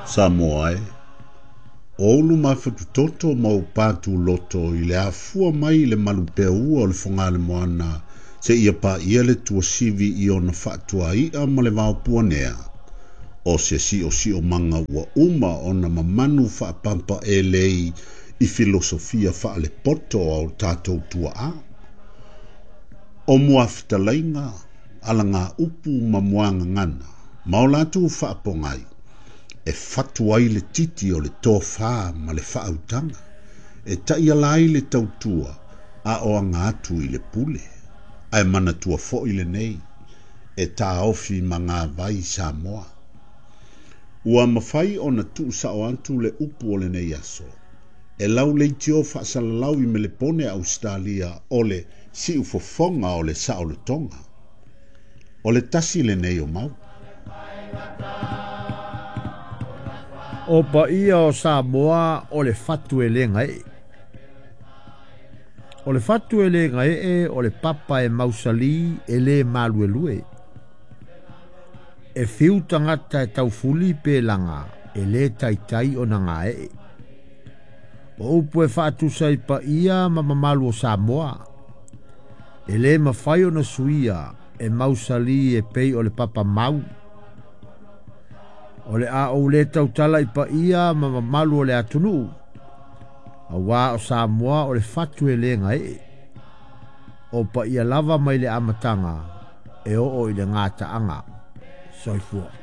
Samoa e, o ou luma fatutoto ma ou pātūloto i le afua mai i le malupeaua o le Fogalemoana seia paia le tuasivi i ona faatuai'a ma le vaopuanea, o se siosiomaga ua uma ona mamanu faapampaelei i filosofia faalepoto a o tatou tuaa. O muafetalaiga, alagaupu ma muagagana, ma o latou faapogai, e fatu ai le titi o le tofā ma le faautaga, e taiala ai le tautua a o aga atu i le pule. Ae manatua foi lenei, e taofi magavai Samoa. Ua mafai ona tuusao atu le upu o lenei aso, e lau leitio faasalalau i Melepone Ausetalia o le siufofoga o le saolotoga. O le tasi lenei o mau. O paia o Samoa o le fatu e le gaee. O le fatu e le gaee o le papa e mausali e le maluelue. E fiu tagata e taufuli pe laga e le taitai ona gaee. O upu e faatusa i paia ma mamalu o Samoa. E le mafai ona suia e mausali e pei o le papa mau. O le a ou le tautala i paia ma mamalu o le atunuu. Auā o Samoa o le fatu e le gaee. O paia lava mai le amataga e oo i le gataaga. Soifua.